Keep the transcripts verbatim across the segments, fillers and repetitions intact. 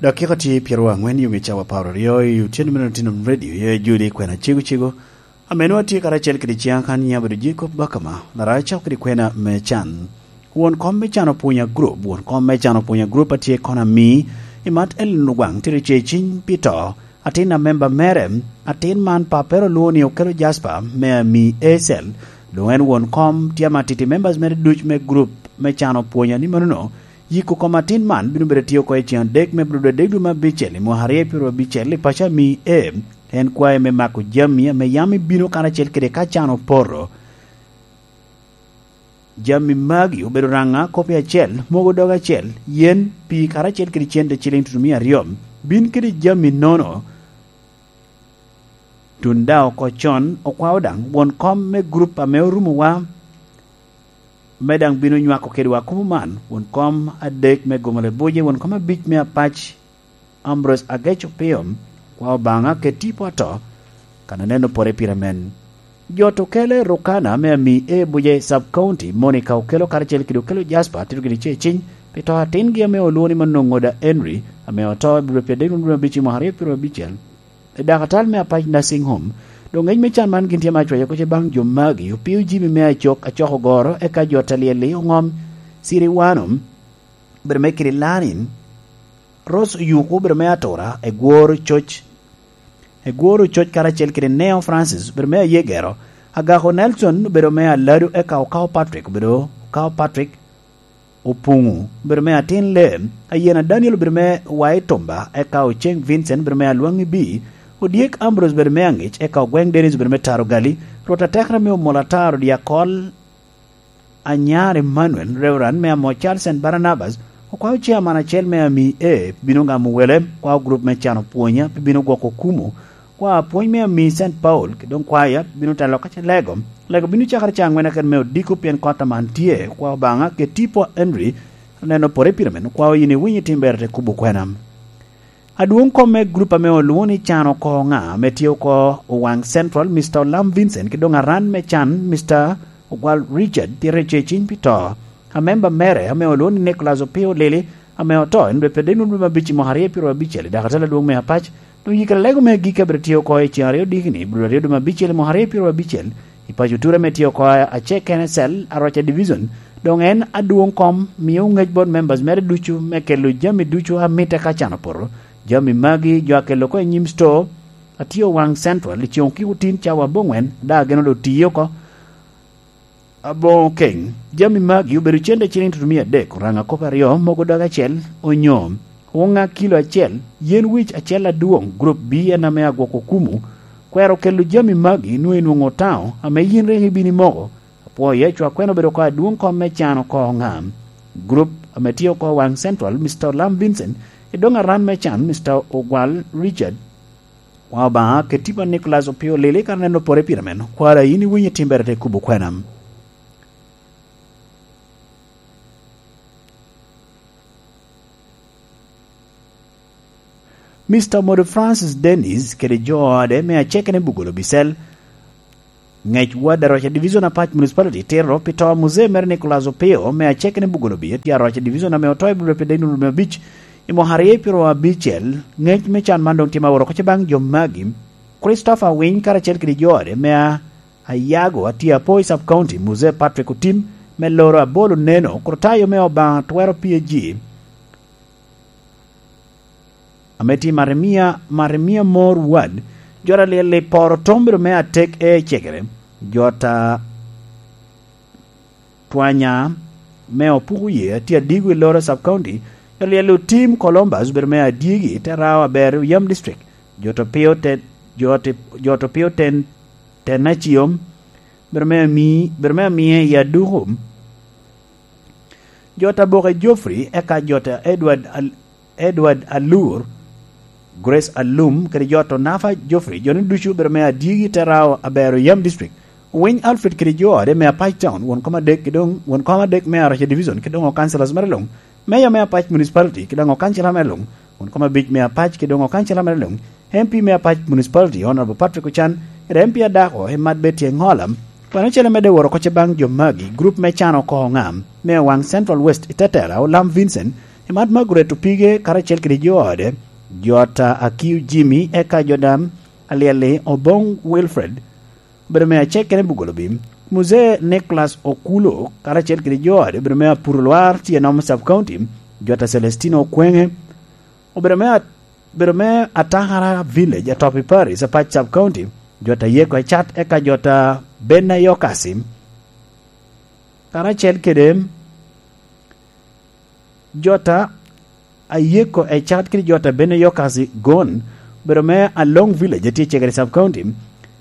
Dakika tye pyeraryo angwen i ŋe cawa apar aryo i otyeno me Nottingham Radio, i Juli kwena cego cego. Ame nwa tye karacel kede ciŋa kan nyiŋa bedo Jacob Bakama, larac cako kede kwena me can. Won kom me can Opwonya Group, won kom me can Opwonya Group atye kono ami, i mat Ellen Ogwaŋ tye ce ciny pi to. Atin a memba mere, atin man papere olwoŋo ni Okelo Jasper me ami Acel. Doŋ en won kom tye amatiti members mere duc me group me can Opwonya ni manono, yiko kom atin man bino bedo tye oko i ciŋ adek me Abril adek dwe me abicel i mwaka aryo pyeraryo abicel i paco ami A. En kwayo me mako jami ame yam ibino karacel kede ka can opoto. Jami magi obedo raŋa kop acel, mogo dog acel, yen, pii karacel kede cente ciliŋ tutumia aryo. Bin kede jami nono, tun daŋ oko con, okwao daŋ won kom me gurup ame orumowa, me daŋ bino nywako kedwa kumo man, won kom adek me Gomole Buje, won kom abic me Apac, Ambrose Agec Opio, kwa Obaŋa ket tipo ato, kan aneno pore pire men. Jot okele Rukana me ami e Buje Sub County, Monica Okelo karacel kede Okelo Jasper, tito gini ce ciny, pi to atingi ame olwoŋo ni Manoŋoda Henry, ame oto i Abril pyeraryo adek wunu abic i mwaka aryo pyeraryo abicel, i dakatal me Apac Nursing Home. Doŋ ŋec me can man gin tye ma acwayo koce baŋ jo magi, opio jimi me acok, acoko goro, eka jot alyel-li oŋom, Siri Wano, bedo me kiri Lanin, Rose Oyuku obedo me Atura, Egworo Coc, Egworo Coc karacel kede Neo Francis obedo me Ayegero, Agako Nelson obedo me Alado, eka Okao Patrick obedo Okao Patrick Opuŋu obedo me Atin Lem, Ayena Daniel obedo me Wai Tumba, eka Oceng Vincent obedo me Alwaŋ Ibi, Odyek Ambrose obedo me Aŋic, eka Ogweŋ Dennis obedo me Taro Gali, Rwot Atekra me Omola Taro Dyakol, Anyar Emmanuel, Reverend me amo Charles and Barnabas, okwao chairman acel me ami e bino gamo wele, kwao group me can Opwonya, pe bino gwoko kumo, kwao apwony me ami Saint Paul, ki doŋ kwaya bino telo ka ce lego. Lego bino cakere ca angwen akene me odiko pien kot aman tye, kwao Obaŋa ket tipo Henry, aneno pore pire men, kwao yin iwinyo itim ber te kubo kwena. Adwoŋ kom me gurup ame olwoŋo ni Can Oko Ŋa, ame tye oko Owaŋ Central, Mister Olam Vincent, ki doŋ aran me can, Mister Ogwal Richard, tye rece ciny pi to. A memba mere, ame olwoŋo ni Nicholas Opio Lili, ame oto, en dwe pyeraryo adek wunu dwe me abic i mwaka aryo pyeraryo abicel, i dakatal adwoŋ me Apac, doŋ yikere lego me agikki abiro tye oko i ceŋ aryo dikini, Abril aryo dwe me abicel i mwaka aryo pyeraryo abicel, i paco ture ame tye oko acek kene cel, Aroca Division, doŋ en adwoŋ kom mio ŋec bot members mere ducu me kelo jami ducu a mitte ka can opoto. Jami magi jo a kelo oko i nyim store, atye Owaŋ Central, i ceŋ okiko tin cawa aboŋwen, da geno do tiyo oko. Aboŋo keny, jami magi obedo cente ciliŋ tutumia adek, oraŋa kop aryo, mogo dog acel, onyo oŋa kilo acel, yen wic acel adwoŋ, group B en ame agwoko kumu, kwero kelo jami magi nwoŋo inwoŋo otaŋo, ame yin rik ibino imoko. Apwoo Yecu akwena obedo oko adwoŋ kom me can oko ŋa. Group ame tye oko Waŋ Central, Mister Olam Vincent, i doŋ aran me can, Mister Ogwal Richard. Wa Obaŋa, ket tipo a Nicholas Opio Lili, kan aneno pore pire men. Kwara, yin iwinyo timbere te kubo kwena. Mister Modo Francis Dennis kede jo ode me acekene Bugolo Bicel, ŋec ward Aroca Division Apac Municipality tito pi to a muzee mere Nicholas Opio me acekene Bugolo Bicel, tye Aroca Division ame oto i Abril pi deno me abic i mwaka aryo pyeraryo abicel. Ŋec me can man doŋ tye ma oro oko ce baŋ jo magi. Christopher Winy karacel kede jo ode me a Ayago, atye apo i Sub County, Muzee Patrick Otim, me loro abolo neno, Kurtayo me Obaŋa twero P A G, ame tye Maremia, Maremia Mor Ward, jot alyel i poro tom bedo me atek e cegere, jot a twanya me Opuku Ye, atye adigo i loro Sub County, jot alyel Otim Columbus bedo me adyegi, te rao aber Yam District, jot opio ten, jot, jot opio ten, ten aciom, bedo me ami, bedo me amiye i aduku. Jot aboke Geoffrey, eka jot a Edward Al-, Edward Alur, Grace Alum, kede jot Onafa Geoffrey, jo ni ducu bedo me adyegi te rao abero Yam District. Owiny Alfred kede jo ode me Apac Town, won kom adek, ki doŋ won kom adek me Aroca Division, ki doŋ o councillors mere luŋ, Mayor me Apac Municipality, ki doŋ o councillor mere luŋ, won kom abic me Apac, ki doŋ o councillor mere luŋ, M P me Apac Municipality, Honorable Patrick Ochan, kede M P adako, Emad Betty Engola. Kwano cel amedde woro oko ce baŋ jo magi, group me can oko ŋa, me Owaŋ Central West i Tetela, Olam Vincent, Mat Margaret Opige karacel kede jo ode, jota Akiu Jimmy, eka jodam Alyelli Obong Wilfred, obedo me acek kene Bugolobi. Muzee Nicholas Okulo karacel kede jo ode, obedo me Apuro Lwar, tye Nom Sub County, jota Celestino Okwenge, obedo me at-, obedo me Atakara Village, Atopi Parish, Apac Sub County, jota Yeko Ecat, eka jota Bena Yokasi, karacel kede jota Ayeko Ecat kede jota Bena Yokasi Gon, obedo me Along Village, atye Cegere Sub County.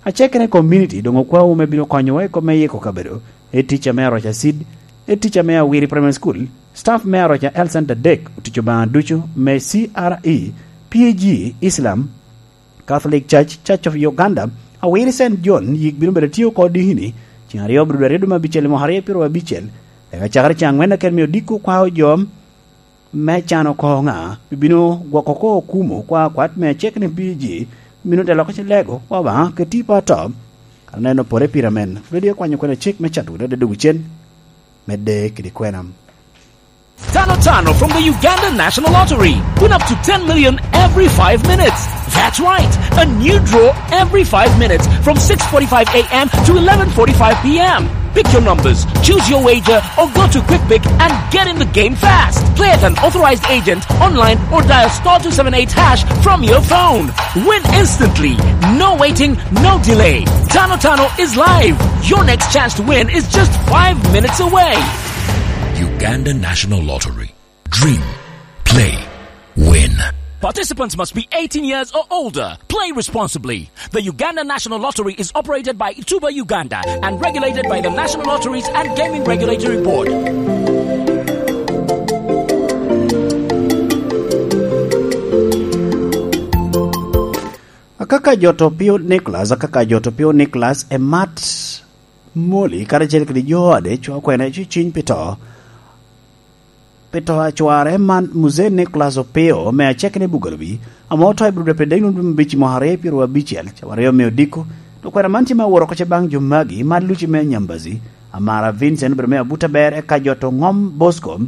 Acekere community doŋ okwawu me bino konyowa i kop me yiko kabedo, i tic ame Aroca Seed, i tic ame Awiri Primary School, staff me Aroca Health Center dek, otic Obaŋa ducu me C R E, P A G, Islam, Catholic Church, Church of Uganda, Awiri Saint John, yik bino bedo tye oko dikini, ceng aryo bro aryo dwe me abicel i mwaka aryo pyero abicel, eka cakere ceng angwen akene me odiko kwao jo me can oko ŋa, bibino gwoko ko okumo kwa kwat me acek ni P A G, bino te loko ci lego, kwa Obaŋa, ke tipo ato. Aneno pore pire amen. Bedo akwanyo kwene cik me cato wunu adada cen, medde kede kwena. Tano Tano from the Uganda National Lottery. Win up to ten million every five minutes. That's right. A new draw every five minutes from six forty-five a m to eleven forty-five p m. Pick your numbers, choose your wager, or go to QuickPick and get in the game fast. Play at an authorized agent, online, or dial star two seven eight hash from your phone. Win instantly. No waiting, no delay. Tano Tano is live. Your next chance to win is just five minutes away. Uganda National Lottery. Dream. Play. Win. Participants must be eighteen years or older. Play responsibly. The Uganda National Lottery is operated by Tuba Uganda and regulated by the National Lotteries and Gaming Regulatory Board. Akaka Joto Pio Nicholas, Akaka Joto Pio Nicholas, Emat Moli, karacel kede jo ade, cwa kwene, ci ciny pi to. Pi to a cware man, Muzee Nicholas Opio, me acek ni Bugalobi, ame oto i Budo Pedek, lum dwe me abic, mwaka aryo pyeraryo abicel, cawa aryo me odiko. To kwena man tye me aworo oko ce baŋ jo magi, man Luci me Nyambazi, Amara Vincent, obedo me Abuta Ber, eka Joto Ngom Bosco,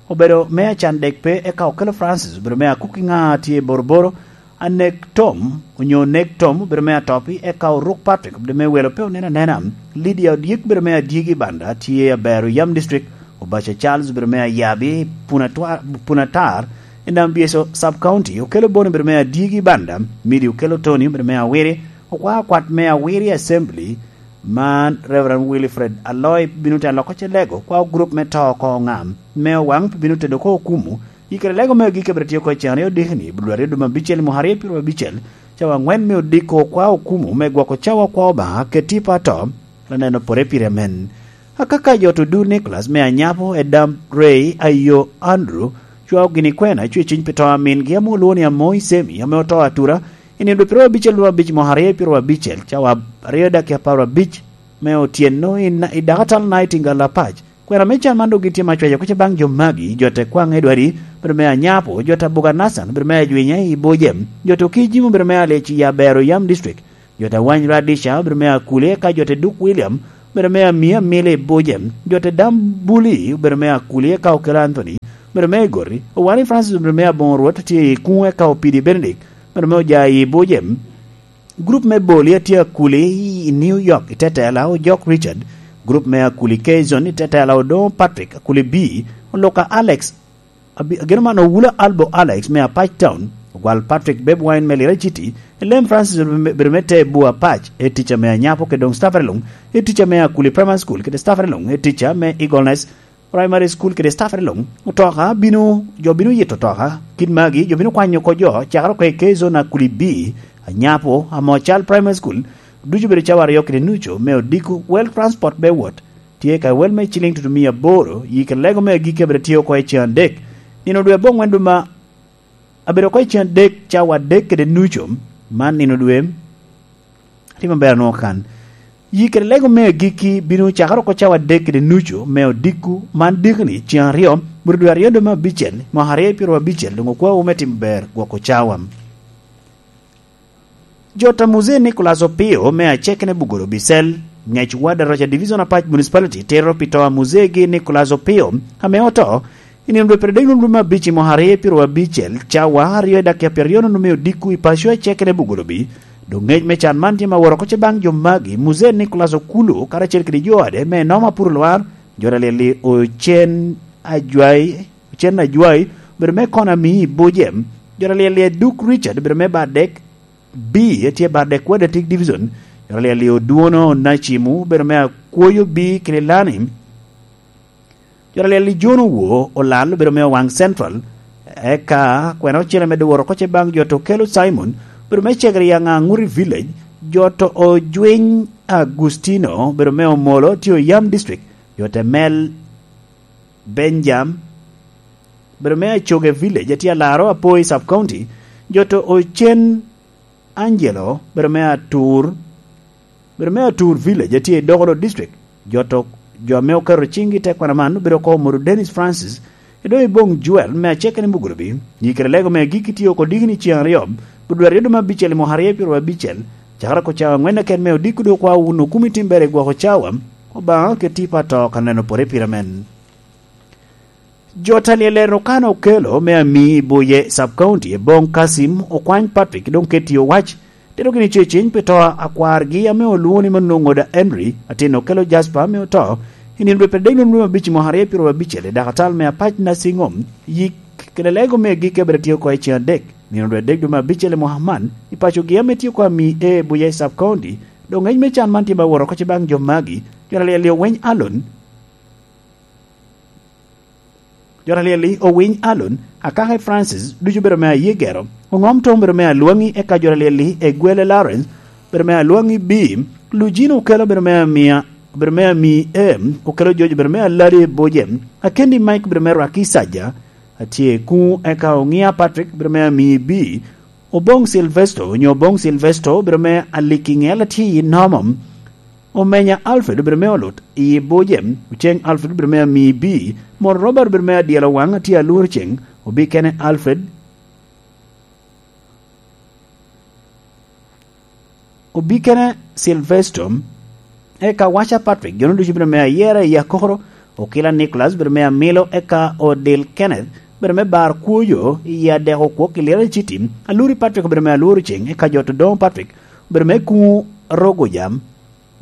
obedo me acan dek pe, eka Okello Francis, obedo me Akuki ŋa tye i Boroboro, Anek Tom, onyo Nek Tom, obedo me Atopi, eka Oruk Patrick, obedo me Welo pe onen anena, Lydia Odyek, obedo me Adyegi Banda, tye Abero Yam District, Obaca Charles, obedo me Ayabi, Punatwa-, Punatar, i Nambieso Sub County, Okello Boni, obedo me Adyegi Banda, Midi Okello Tony, obedo me Awiri, okwa kwat me Awiri Assembly, man Reverend Wilfred Aloy bino te loko ce lego, kwa gurup me to oko ŋam, me owaŋ pi bino tedo ko okumu, Yikere lego me agikki abiro tye oko i cen aryo dikini, bulu aryo dwe me abicel i mwaka aryo pyeraryo abicel, cawa aŋwen me odiko kwa okumu me gwoko cawa kwa Obaŋa keti pa to, laneno pore pire amen. Akaka jo to du Nicholas me Anyapo, Edam Ray, Ayo Andrew, cwao gini kwena, cwe ciny pi to a mingi ame olwoŋo ni Amoi Semi, ame oto atura, i nino dwe pyeraryo abicel dwe me abic mwaka aryo pyeraryo abicel, cawa aryo dakika apar abic me otyeno i na-, i Dakatal Nightingale Apac. Kwena me can man dok gin tye ma cwayo oko ce baŋ jo magi, jo te kwaŋ Edward, obedo me Anyapo, jo te Buga Nathan, obedo me Ajwinya i Bojem, jo te Okijim, obedo me Alec i Abero Yam District, jo te Wany Radisha, obedo me Akuli, eka jo te Duk William, obedo me Amia Amila i Bojem, jo te Dam Buli, obedo me Akuli, eka Okello Anthony, obedo me Igoti, Owani Francis, obedo me Aboŋo Rwot, tye i Kuŋo, eka Opidi Benedict, obedo me Oja i Bojem. Gurup me Boli a tye Akuli i New York i tetela Ojok Richard, gurup me Akuli Kazon i tetela Odoŋo Patrick, Akuli B, Oluka Alex, abi-, ageno man Owula Albo Alex me Apac Town, Ogwal Patrick, Beb Wine me Lira City, Elem Francis obedo me te Bua Apac, e tic ame Anyapo kede doŋ staff luŋ, e tic ame Akuli Primary School kede staff luŋ, e tic ame Eagleness Primary School kede staff luŋ. Otoka bino, jo bino yito otoka. Kit magi, jo bino kwanyo oko jo, cakere oko i K-Zone Akuli B, Anyapo, Amocal Primary School, ducu bedo cawa aryo kede nucu me odiko. Wel transport be wot. Tye ka wel me ciling tutumia aboro, yi kede lego me agikki abedo tye oko i cen adek. Nino dwe abongwen dwe ma abedo oko i cen adek, cawa adek kede nucu, man nino dwe. Tye maber anwoŋo kan. Yi kede lego me agikki bino cakere oko cawa adek kede nucu me odiko, man dikoni, cen aryo, bur dwe aryo dwe me abicel, mwaka aryo pyeraryo abicel, doŋ okwawu me timo ber gwoko cawa. Jo ta Muzee Nicholas Opio me Acekene Bugoro Bisel, ngec ward Aroca Division Apac Municipality, tero pi to a Muzee gi Nicholas Opio, ame oto, I nino dwe pire dek num dwe me abic i mwaka aryo pyeraryo abicel, cawa aryo i dakika pyeraryo num me odiko i paco acel kede Bugolobi, doŋ ngec me can man tye ma woro oko ce baŋ jo magi, Muzee Nicholas Okulu karacel kede jo ade me Noma Purulwar, jo alyel-li Ocen Ajwai, Ocen Ajwai, obedo me Konami i Bujem, jo alyel-li Duk Richard, obedo me Bardek B, tye Bardek Wadatik Division, jo alyel-li Odwono Nacimu, obedo me Akwoyo B, Kililani, jo alyel-li John Owo Olal obedo me Owaŋ Central, eka kwena ocele medde woro oko ce baŋ jo to Okelo Simon, obedo me Cegere i Aŋaŋuri Village, jo to Ojwiny Agustino obedo me Omolo, tye Oyam District, jo to Mel Benjam, obedo me Acoge Village, atye Alaro, Apoi Sub County, jo to Ocen Angelo, obedo me Atur, obedo me Atur Village, atye i Dokolo District. Jo to, jo ame oketo ciŋgi i te kwana man obedo oko Omodo Dennis Francis, Edoŋ Iboŋ Joel me acel kene i Mugulubi, i kede lego me agikki tye oko diki ni ceŋ aryo, Budweri dwe me abicel i mwaka aryo pyeraryo abicel, cakere oko cawa aŋwen keken me odiko dok kwa wun okumi timbere i gwoko cawa, Obaŋa keti pa to ka neno pore pire men. Jo talyel en Okana Okelo me Ami i Buye Sub County, Eboŋ Kasim, Okwany Patrick, doŋ keti owac, tero gini ce ciny pi to a kwargi ame olwoŋo ni Manongoda Henry, atin Okelo Jasper ame oto, i nino dwe pire dek num dwe me abic i mwaka aryo pyeraryo abicel i dakatal me Apac Nursing Home, yik kede lego me agikki abiro tye oko i ceŋ adek, nino dwe adek dwe me abicel i mwaka man, i pacogi ame tye oko Ami A Buye Sub County, doŋ ngec me can man tye ma woro oko ce baŋ jo magi, jo alyel-li Owiny Alon, jo alyel-li Owiny Alon, Akake Francis, ducu obedo me Ayegero, Oŋom Tom obedo me Alwaŋi, eka jo alyel-li Egwele Lawrence, obedo me Alwaŋi B, Lujino Okelo obedo me Amia, obedo me Ami A, Okelo Jojo obedo me Aladi Boje, Akendi Mike obedo me Rwaki Saja, atye kuŋ, eka Oŋia Patrick obedo me Ami B, Oboŋ Silvesto, onyo Oboŋ Silvesto, obedo me Aliki Ŋel atye i Nomom. Omenya Alfred obedo me Olut i Bujem, Oceng Alfred obedo me Ami B, Mon Robert obedo me Adyelo Waŋ atye Alworo Ceŋ, Obikene Alfred, Obikene Silvesto, eka Waca Patrick, jo-nu ducu obedo me Ayera i Akokoro, Okila Nicholas obedo me Amilo, eka Odil Kenneth obedo me Bar Kwoyo i Adeko Kwok i Lira City, Aluri Patrick obedo me Alworo Ceŋ, eka jo to Doŋo Patrick obedo me Kuŋo Rogo Jam,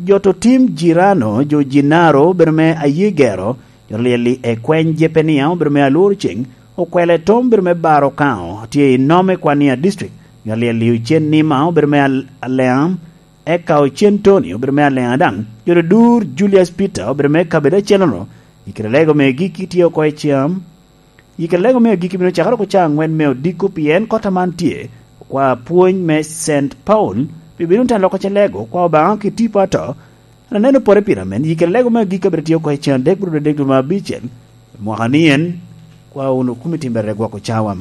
jo to Tim Jirano, jo Jinaro obedo me Ayegero, jo alyel-li Ekweny Jepenia obedo me Alworo Ceŋ, Okwele Tom obedo me Bar Okaŋo, tye i Nome Kwania District, jo alyel-li Ocen Nima obedo me Al-, Aleaŋ, eka Ocen Tony obedo me Aleaŋ daŋ, jo to Dur Julius Peter obedo me kabedo acel-nono, i kede lego me gikki tye oko i cam, i kede lego me agikki bino cakere oko ca aŋwen me odiko, pien kota man tye okwa pwony me Saint Paul, pi bino teno loko ce lego, kwa Obaŋa ki tipo ato, an aneno pore pira men, i kede lego me agikki abiro tye oko i ceŋ adek bro dwe adek dwe me abicel, mwaka ni en, kwa wunu kumi timbere gwoko cawa.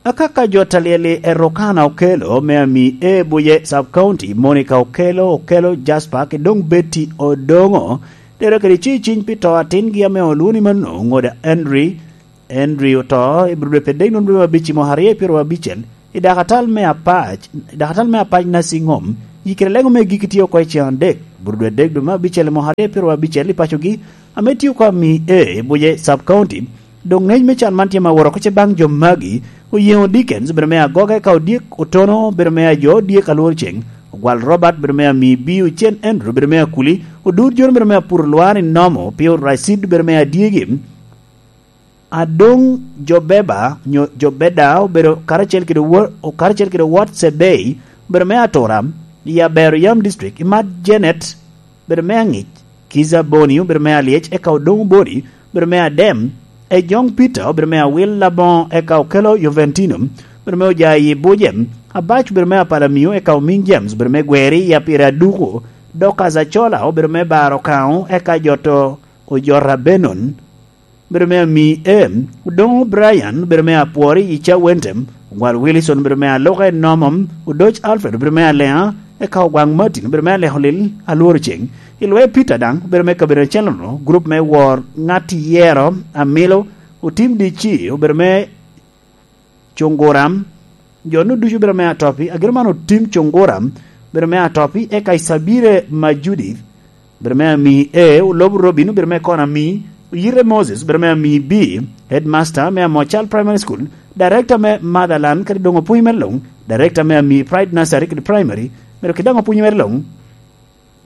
Akaka jo talyel-li Erokana Okelo me Ami A Buye Sub County, Monica Okelo, Okelo Jasper, ki doŋ Betty Odongo, tero kede ci ciny pi to atingi ame olwoŋo ni Manongoda Henry. Henry oto i bro dwe pire dek num dwe me abic i mwaka aryo pyeraryo abicel, i dakatal me Apac, i dakatal me Apac Nursing Home, yikere lego me giki tye oko i ceŋ adek, bro dwe adek dwe me abicel i mwaka aryo pyeraryo abicel i pacogi, ame tye oko Ami A i Buye Sub County, doŋ ŋec me can man tye ma woro oko ce baŋ jo magi, Oyeŋo Dickens obedo me Agoga, eka Odyek Otono obedo me Ajo Odyek Alwor Ceŋ, Ogwal Robert obedo me Ami B, Ocen Andrew obedo me Akuli, Odur Jon obedo me Apuro Lwar i Nomo, Pio Racid obedo me Adyegi, Adoŋ Jobeba, nyo Jobeda, obedo karacel kede wo-, karacel kede wot Cebei, obedo me Atura, i Abero Yam District, Imat Janet, obedo me Aŋic, Kiza Boni, obedo me Alyec, eka Odoŋ Boni, obedo me Adem, Ejoŋ Peter, obedo me Awil Laboŋo, eka Okelo Joventino, obedo me Ojayi Bujem, Abac, obedo me Apalamio, eka Omiŋ James, obedo me Gweri, i Apire Aduku, Dorcas Acola, obedo me Baro Kaŋo, eka Joto Ojota Benon, obedo me Ami A, Odoŋo Brian, obedo me Apwori i Cawentem, Ogwal Wilson, obedo me Aloka i Nomom, Odoc Alfred, obedo me Aleŋa, eka Ogwaŋ Martin, obedo me Aleko Lil Alworo Ceŋ, i Lwe Peter daŋ, obedo me kabedo acel-nono, gurup me Wor Ŋat Yero Amilo, Otim D C, obedo me Cunguram, jo-nu ducu obedo me Atopi, agiro man Otim Cunguram, obedo me Atopi, eka Isabire ma Judith, obedo me ami A, Olobo Robin obedo me kona ami, Oyite Moses obedo me ami B, headmaster me Amocal Primary School, director me Motherland kede doŋ opwony mere luŋ, director me ami Pride Nursery kede Primary, mere kede doŋ opwony mere luŋ.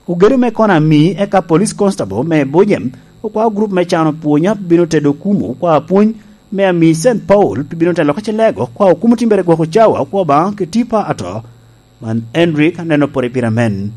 Ogedo me kona ami eka police constable me Bujem okwao grup me cano pwonya bino tedo kumo okwao pwony me ami Saint Paul pi bino telo ka cilego okwao kumo timbere gwoko cawa okwao Obaŋa ki tipa ato. Man Henry ka neno pore pira men.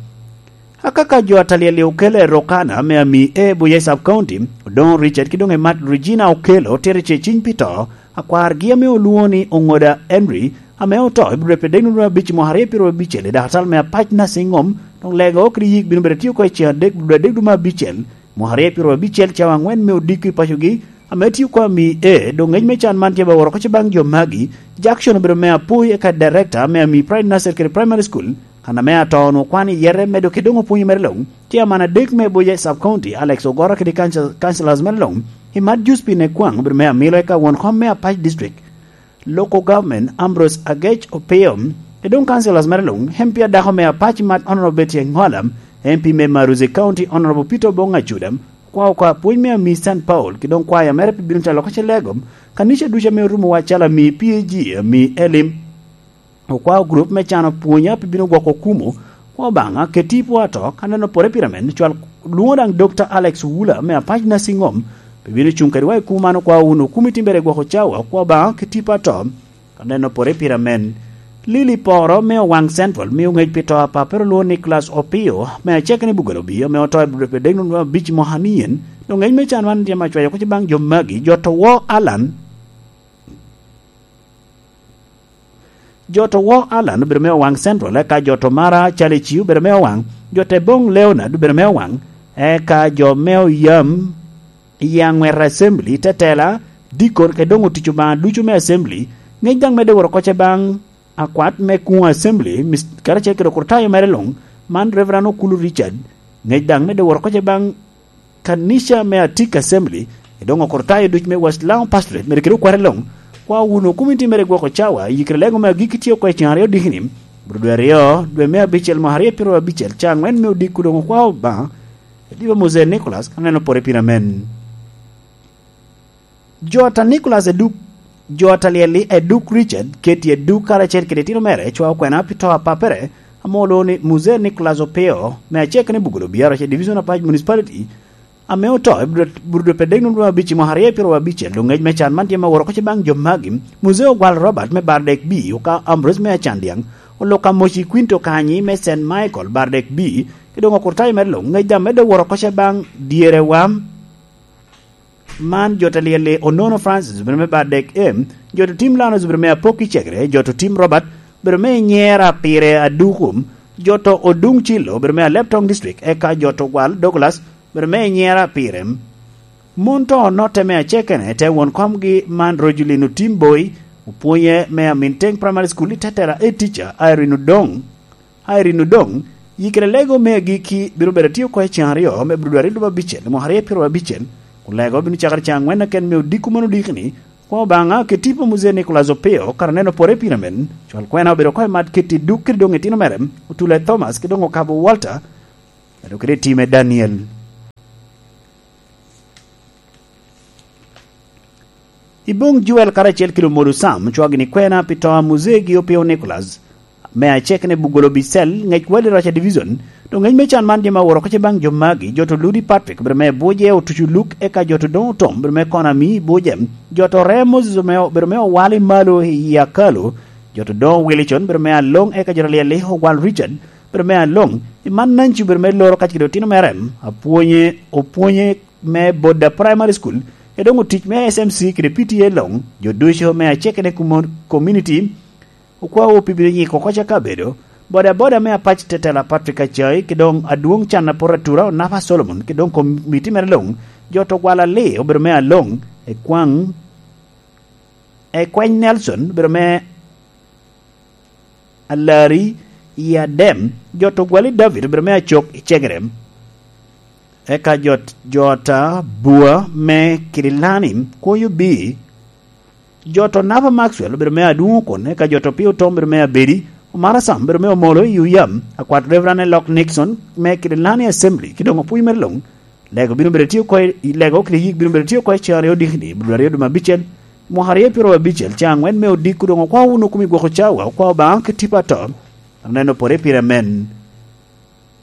Akaka jo atalyel-li okelo i Rokana me ami A Buye Sub County, Odoŋo Richard ki doŋ Emat Regina okelo tito ce ciny pi to, akwargi ame olwoŋo ni Oŋoda Henry, ame oto i Budwe pi dek nwoŋo abic mwaka aryo pyero abicel i dakatal me apac Nursing Home, doŋ lego kede yik bino bedo atio oko i ceng adek Budwe adek dwe me abicel, mwaka aryo pyero abicel cawa aŋwen me odiko i pacogi, ame tio oko ami A, doŋ ngec me can man tye ba woro oko ce baŋ jo magi, Jackson obedo me apoi eka director me ami Pride Nursery kede Primary School, kan ame ato onwoŋo kwano i yete medo ki doŋ opwonyo mere luŋ, tye aman adek me Buye Sub County, Alex Ogoro kede council-, councillors mere luŋ, Imat Juspin Ekwaŋ obedo me amilo eka won kom me Apac District, Local Government, Ambrose Agec Opio, kede doŋ councillors mere luŋ, M P adako me Apac Mat Honorable Betty Enghola, M P me Maruzi County Honorable Peter Obong Acuda, okwao oko apwony me ami Saint Paul, kede doŋ kwaya mere pi bino telo oko ce lego, kanica ducu ame orumo wa calo ami P A G, ami Elim, okwao grup me cano pwonya pi bino gwoko kumo, kwa Obaŋa, keti i pwo ato, ka neno pore pira men, cwal lwoŋo daŋ Doctor Alex Wula me Apac Nursing Home, pi bino cuŋ kedwa i kumo man okwao wunu kumo itimbere gwoko cawa, kwa Obaŋa, keti i pwo ato, ka neno pore pira men. Lili Poro me Owaŋ Central mio ŋec pi to a papere olwoŋo Nicholas Opio, me aceke ni Bugolobi, ame oto i Budwe pi dek nwoŋo abic mwaka ni en, doŋ ŋec me can man tye ma cwayo oko ce baŋ jo magi, jo to wo Alan, Jo to wo Alan obedo me Owaŋ Central, eka jo to Mara Chalici obedo me Owaŋ, jo te Boŋ Leonard obedo me Owaŋ, eka jo me Oyam i Aŋwet Assembly, tetela, dikon, kede doŋ otic Obaŋa ducu me Assembly, ŋec daŋ medde woro oko ce baŋ akwat me kuŋ Assembly, mis-, karacel kede okrutayo mere luŋ, man Reverend Okulu Richard, ŋec daŋ medde woro oko ce baŋ kanica me Atik Assembly, i doŋ okrutayo duc me West Lango Pastorate, mere kede okwate luŋ, kwa wunu komiti mere gwoko cawa, yikere lego me agikki tye oko i ceng aryo dikini, bro dwe aryo, dwe me abicel mwaka aryo pyero abicel, ca aŋwen me odiko doŋ okwa Obaŋa, ediba Mose Nicholas, ka neno pore pira men. Jo ata Nicholas Eduk, jo ata Lyelli Eduk Richard, Keti Eduk karacel kede itino mere, cwa okwena pi to a papere, ame olwoŋo ni Muzee Nicholas Opio, me aceke ni Bugolo Biaro, ce Division Apac Municipality, ame oto i Bur-, Burudwe pe dek nwoŋo abic i mwaka aryo pyero abicel, doŋ ŋec me can man tye ma woro oko ce baŋ jo magi, Muzee Ogwal Robert me Bardek B, oka Ambrose me Acandiaŋ, Oluka Moci Quinto Kanyi me Saint Michael Bardek B, ki doŋ okurtayo mere luŋ, ŋec daŋ medde woro oko ce baŋ dyerewa. Man jo ta Lyelli Onono Francis obedo me Bardek M, jo to Tim Lanos obedo me Apok i Cegere, jo to Tim Robert obedo me Nyera Pire Adukum, jo to Odung Cilo obedo me Alep Tong District, eka jo to Gwal Douglas obedo me Nyera Pire. Mon to onotte me acekene te won komgi man Rogelino Tim Boy, opwonye me Aminteng Primary School i Tetera, e teacher Irene Odong. Irene Odong, yikere lego me agikki bino bedo atye oko i ceng aryo me Budwari lubo abicel, mwaka aryo pyero abicel, kun lego bino cakere ceng aŋwen aken me odiko man odikini, kwa Obaŋa, ke tipo Muzee Nicholas Opio, kara neno pore pire men, cwal kwena obedo oko i mat Keti Duk kede doŋ itino mere, Otule Thomas, kede doŋ Okabo Walter, kede kede time Daniel. I Boŋ Joel karacel kede Omodo Sam, cwagini kwena pi to a Muzee gi Opio Nicholas, me acek ne Bugolo Bicel, ŋec Wali Roca Division, doŋ ŋec me can man jami aworo oko ce baŋ jo magi, jo to Ludi Patrick, obedo me Buje, Otucu Luk, eka jo to doŋ otom, obedo me Konami, Buje, jo to Rem Moses, obedo me, obedo me Owali Malo i Akalo, jo to doŋ Wilicon, obedo me Aloŋ, eka jo to Lyelli, Ogwal Richard, obedo me Aloŋ, i man Nanci obedo me Loro kacel kede otino mere, apwonye, opwonye me Boda Primary School, e doŋ otic me S M C kede P T A Loŋ, jo ducu me aceke ne kumo-, community, okwawo pi bino nyiko oko ca kabedo, boda boda me Apac Tetela Patrick Acai, ki doŋ adwoŋ can apot atura Onapa Solomon, ki doŋ komiti mere Loŋ, jo to Gwal Ali obedo me Aloŋ, Ekwaŋ, Ekweny Nelson obedo me Alari i Adem, jo to Gwali David obedo me Acok i Cegere. Eka jo, jo ta Bua me Kirilani, Kwoyo B, jo to Napa Maxwell obedo me Adwoŋ Okon, eka jo to Pio Tom obedo me Abedi, Omara Sam bedo me omolo i Uyam, akwat Reverend Elok Nixon me Kililani Assembly, ki doŋ opwony mere luŋ. Lego bino bedo tye oko i, lego kede yik bino bedo tye oko i cen aryo odikni, bulu aryo dum abicel, mwaka aryo pyero abicel, cen angwen me odiko doŋ okwao wunu kumi gwoko cawa, okwao Obaŋa ki tipo ato. Aneno pore pire amen.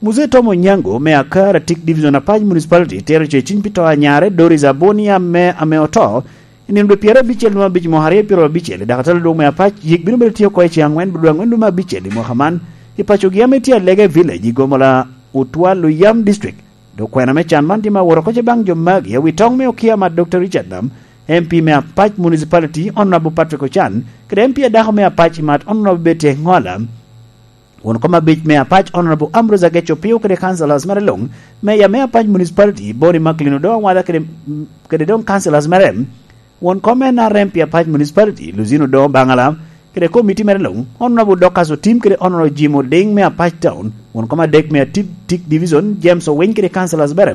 Muzee Tom Onyango me Akar Atik Division Apac Municipality tero ce ciny pi to anyare Doris Abonia me ame oto i nino dwe pyero abicel dum abic mwaka aryo pyero abicel i dakatala dwong me Apac. Yik bino bedo tye oko i cen angwen dwe angwen dum abicel i mwaka man i pacogi ame tye Alege Village i Gomola Utwal Uyam District. Dok kwena me can man tye ma woro koce baŋ jo magi awi toŋ me okia mat Dokta Richard Nam, M P me Apac Municipality, Honorable Patrick Ocan, kede M P adako me Apac i mat Honorable Betty Engola. Won kom abic me Apac, Honorable Ambrose Ageco Pio kede councillors mere luŋ, Mayor me Apac Municipality, Boni Macklin Odongo Awada kede, kede doŋ councillors mere, won kom N R M pi Apac Municipality, Luzino Odongo Baŋala, kede komiti mere luŋ, Honorable Dorcas Otim kede Honorable Jim Oding me Apac Town, won kom adek me Atik Division, James Owiny kede councillors mere,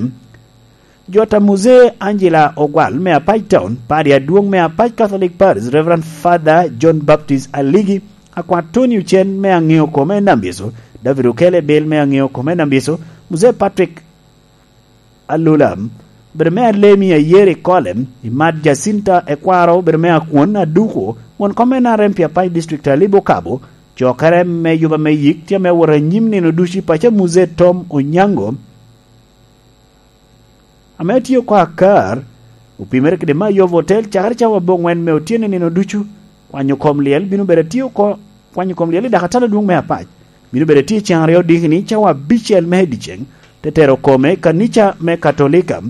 Jota Muzee Angela Ogwal me Apac Town, Padi Adwoŋ me Apac Catholic Parish, Reverend Father John Baptist Aligi, Akwat Tony Ocen me Aŋeo Kome Nambyecu, David Okele Bil me Aŋeo Kome Nambyecu, Muzee Patrick Alula, bedo me Alemi Ayeri Kolem, Imat Jacinta Ekwaro, bedo me Akwon Aduko, won kom N R M pi Apac District Alibo Kabo, cokere me yuba me yik tye ame wot anyim nino ducu i paco Muzee Tom Onyango, ame tye oko Akar, opimere kede Mayovo Hotel cakere cawa abongwen me otyeno nino ducu. Kwanyo kom lyel bino bedo atye oko, kwanyo kom lyel i dakatala dwong me Apac bino bedo atye cen aryo odikini cawa abicel me i dyeceŋ, te tero kome i kanica me Katolika.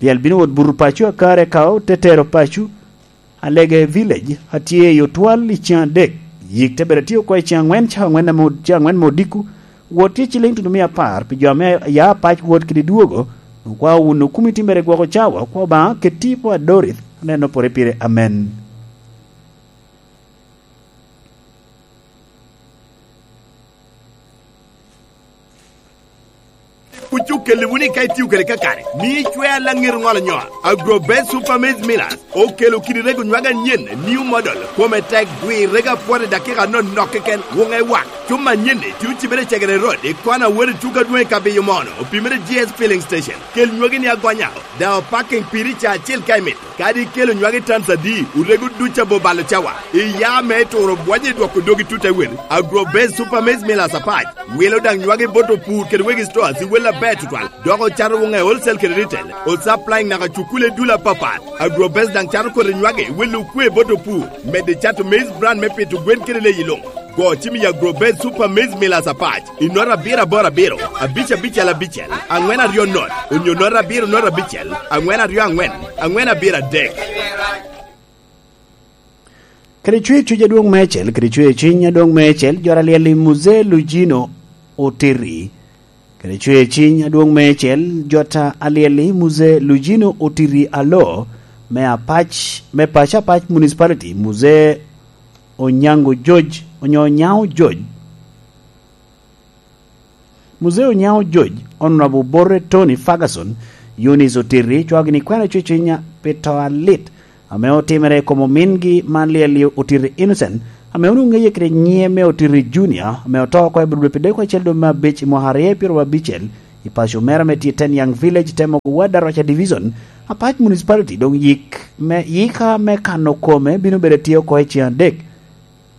Lyel bino wot buto paco Akar eka te tero paco Alege Village a tye i Otwal i cen adek. Yik te bedo atye oko i cen angwen, cen angwen ame od-, cen angwen me odiko. Wot tye ciliŋ tutumia apar pi jo ame ya Apac wot kede dwogo. Okwao wunu kumi timmere gwoko cawa, okwao Obaŋa keti po adorit, aneno pore pire. Amen. Kuc okelli wunu i ka itio kede kakare, mi icwea laŋet ŋolo nyo. Agro Best Super Maize Millers okelo kidi rego nywag anyen, new model, kome tek, dwi rego apwot i dakika anonok keken, wuŋe wak. Cuma anyen-ni tye ocibere i Cegere Road, i kona wot i tuko adwoŋ i Kabiyo Mono, opimere G S Filling Station. Kel nywagi ni agonya, daŋ opaking piri ca acel ka imito. Kadi ikelo nywagi tans adi, orego duc abo balo cawa. Iya me turo bwonye i dwoko dogi tut ewel. Agro Best Super Maize Millers Apac wilo daŋ nywagi bot opur kede wegi stores i wel aber tutwal. Dok ocato wuŋe wholesale kede retail. Osupplying naka cukule dul apapat. Agro Best daŋ cato kodi nywagi wel okwe bot opur. Medde cato maize bran me pito gwen kede leyi luŋ. Go cim i Agro Best Super Maize Millers Apac i nota abiro aboro abiro, abic abicel abicel, angwen aryo not, onyo nota abiro not abicel, angwen aryo angwen, angwen abiro adek. Kede cwer cuc adwoŋ meicel, kede cwer ciny adwoŋ meicel, jot alyel i Muzee Lujino Otiri. Kede cwer ciny adwoŋ meicel, jot alyel i Muzee Lujino Otiri Alo, me Apac, me paco Apac Municipality, Muzee Onyango George, onyo Onyango George. Muzee Onyango George, Honorable Borre Tony Ferguson, Eunice Otiri, cwao gini kwena cwecwiny pi to alit ame otimere i kom omingi man Lyelli Otiri Innocent, ame onwoŋo ŋeye kede nyiŋe me Otiri Junior, ame oto oko i Budwe pi deko acel dwe me abic i mwaka aryo pyeraryo abicel, i paco mere ame tye i Ten Young Village, te mogo Wad Aroca Division, Apac Municipality. Doŋ yik me, yika me kano kome bino bedo atye oko i cen adek.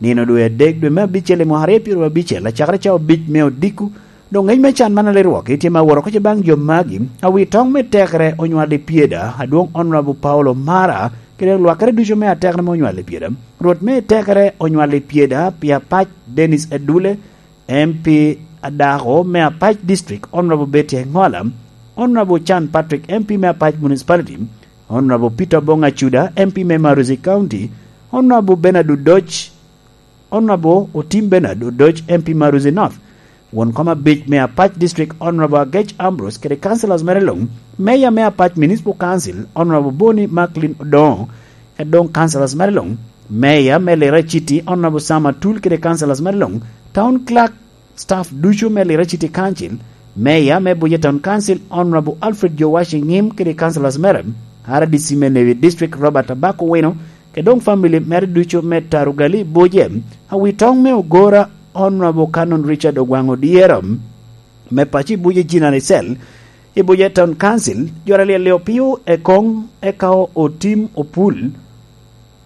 Nino dwe adek dwe me abicel i mwaka aryo pyeraryo abicel, acakere cawa abic me odiko, doŋ ŋec me can man alerwok tye ma woro koce baŋ jo magi, awi toŋ me tekere onywal i pyeda, adwoŋ Honorable Paulo Mara, kede lwakere ducu me atekere me onywal i pyeda. Rwot me tekere onywal i pyeda, pi Apac Dennis Edule, M P adako me Apac District, Honorable Betty Engola, Honorable Chan Patrick, M P me Apac Municipality, Honorable Peter Obong Acuda, M P me Maruzi County, Honorable Bernard Odoch, Honorable Otim Bernard Odoch, M P Maruzi North, won kom abic me Apac District, Honorable Agech Ambrose, kede councillors mere luŋ, Mayor me Apac Municipal Council, Honorable Boni Macklin Odongo, kede doŋ councillors mere luŋ, Mayor me Lira City, Honorable Sam Atul, kede councillors mere luŋ, Town Clerk, staff ducu me Lira City Council, Mayor me Buja Town Council, Honorable Alfred Jowashi Ngim, kede councillors mere, R D C me Newi District, Robert Abako Wino, kede doŋ family mere ducu me Tarugali Buje, awi toŋ me Ogora, Honorable Canon Richard Ogwang Odyero, me paco i Buje Jinari Cell, i Buje Town Council, joro alyel-li opio ekoŋ, eka otim opul,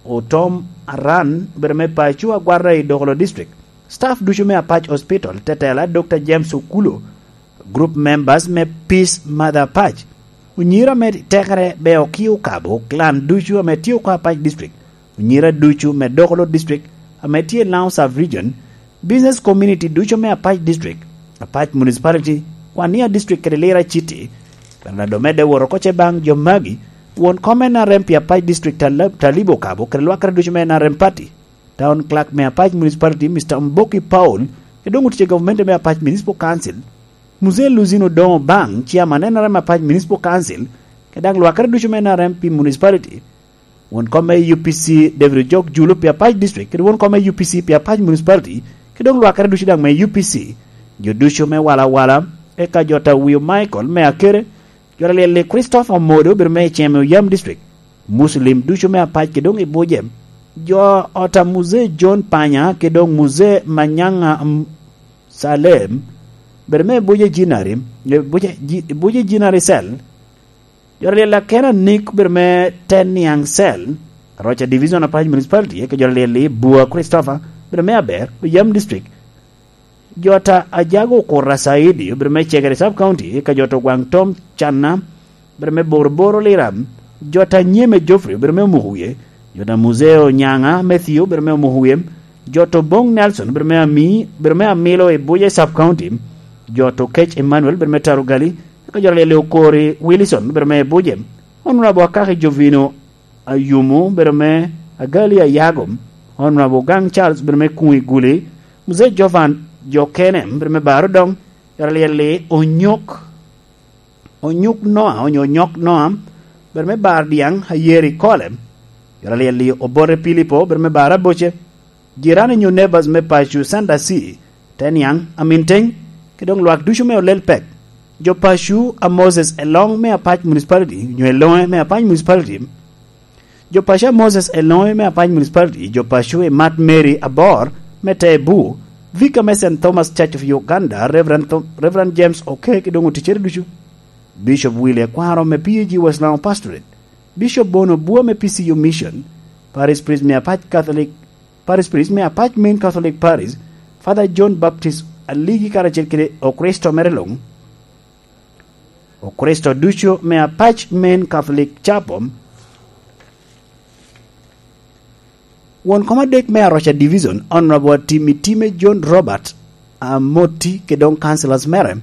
otom aran, bedo me paco agwata i Dokolo District. Staff ducu me Apac Hospital, tetela Doctor James Okulo, group members me Peace Mother Apac, onyira me tekere be okio kabo, clan ducu ame tye oko Apac District, onyira ducu me Dokolo District ame tye i Lango Sub Region, business community ducu me Apac District, Apac Municipality, Wania District kede Lira City. Bernardo medde woro oko ce baŋ jo magi, won kom N R M pi Apac District Tala-, Talibo Kabo kede lwakere ducu me N R M Party. Town Clerk me Apac Municipality, Mister Mboki Paul, kede doŋ otic i gavumenti me Apac Municipal Council, Mzee Luzino Doŋo Baŋ, Chairman N R M Apac Municipal Council, kede daŋ lwakere ducu me N R M pi Municipality, won kom me U P C David Ojok Julu pi Apac District, kede won kom me U P C pi Apac Municipality, kede doŋ lwakere ducu daŋ me U P C, jo ducu me Wala Wala, eka jo ta Wio Michael me Akere, jo alyel-li Christopher Omodo, obedo me Iceme Oyam District, Muslim ducu me Apac kede doŋ i Buje, jo ota Mzee John Panya kede doŋ Mzee Manyanga, mm, Salem, bedo me Buje Jinari, e Buje Ji-, Buje Jinari Cell, jo alyel Akena Nick, bedo me Teniang Cell, Rocha Division Apac Municipality, eka jo alyel-li Bua Christopher, bedo me Aber, Oyam District, jo ta Ajago Okura Saidi, obedo me Cegere Sub County, eka jo ta Ogwaŋ Tom Canna, obedo me Boroboro Lira, jo ta Nyeme Geoffrey, obedo me Omuko Wie, jo ta Muzeo Nyanga Matthew, obedo me Omuko Wie, jo ta Oboŋ Nelson, obedo me Ami, obedo me Amilo i Buje Sub County, jo ta Okec Emmanuel, obedo me Tarugali, eka jo ta Lele Okori Wilson, obedo me Buje, Honorable Akaki Jovino Ayumu, obedo me Agali Ayago, Honorable Gang Charles, obedo me Kuŋ i Guli, Mzee Jovan Jokene, obedo me Baro Doŋ, jo ta Lele Onyok, Onyuk Noa, onyo Onyok Noa, obedo me Bar Dyaŋ, Ayeri Kole, jo ta Lele Obote Pilipo, obedo me Bar Aboce, jirani nyo neighbors me paco Sanda C, Teniaŋ, Aminteŋ, kede doŋ lwak ducu me Olel Pek, jo paco a Moses Eloŋ me Apac Municipality, nyo Eloŋe me Apac Municipality, jo paco a Moses Eloŋe me Apac Municipality, jo paco i Mat Mary Abor me Tebu, Vicar me Saint Thomas Church of Uganda, Reverend Tho-, Reverend James Oke, kede doŋ oticere ducu, Bishop Willie Akwaro me P A G West Lango Pastorate, Bishop Bono Bua me P C U Mission, Parish Priest me Apac Catholic, Parish Priest me Apac Main Catholic Parish, Father John Baptist Aligi karacel kede Okricito mere luŋ, Okricito ducu me Apac Main Catholic Chapel, won kom adek me Aroca Division, Honorable Atimi Time John Robert Amoti, kede doŋ councillors mere,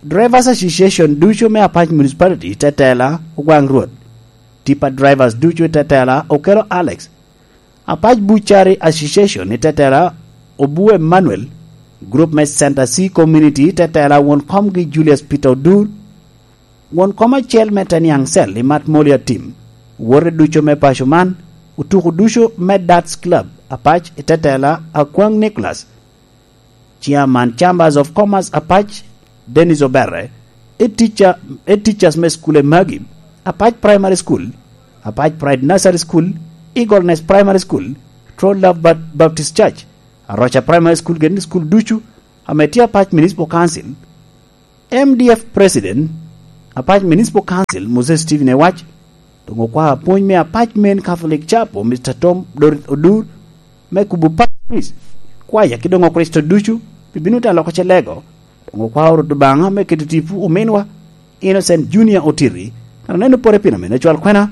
Drivers Association ducu me Apac Municipality, tetela Ogwaŋ Rwot, Tipa Drivers ducu, tetela Okelo Alex, Apac Butchery Association, tetela Obu Emmanuel, group me Center C Community, tetela won komgi Julius Peter Odur, won kom acel me Teniaŋ Cell i Mat Moli Atim, wote ducu me paco man, otuko ducu me Darts Club Apac i tetela Akwaŋ Nicholas, Chairman Chambers of Commerce Apac, Dennis Oberre, e teacher, e teachers me school e magi, Apac Primary School, Apac Pride Nursery School, Eagle Nest Primary School, True Love Bat-, Baptist Church, Aroca Primary School, gin school ducu ame tye Apac Municipal Council, M D F President, Apac Municipal Council, Moses Stephen Ewac, doŋ okwao apwony me Apac Main Catholic Chapel, Mister Tom Dor-, Odur, me kubo Parish Priest, kwaya ki doŋ Okricito ducu, pi bino te aloko ce lego, doŋ okwao Rwot Obaŋa me keto tipo ominwa, Innocent Junior Otiri, kan oneno pore pino mene cwal kwena,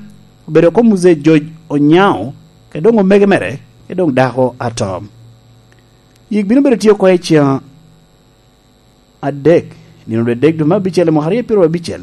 obedo oko Mzee George Onyao, kede doŋ omege mere, kede doŋ dako ato. Yik bino bedo tye oko i ceŋ adek, nino dwe adek dwe me abicel i mwaka aryo pyeraryo abicel,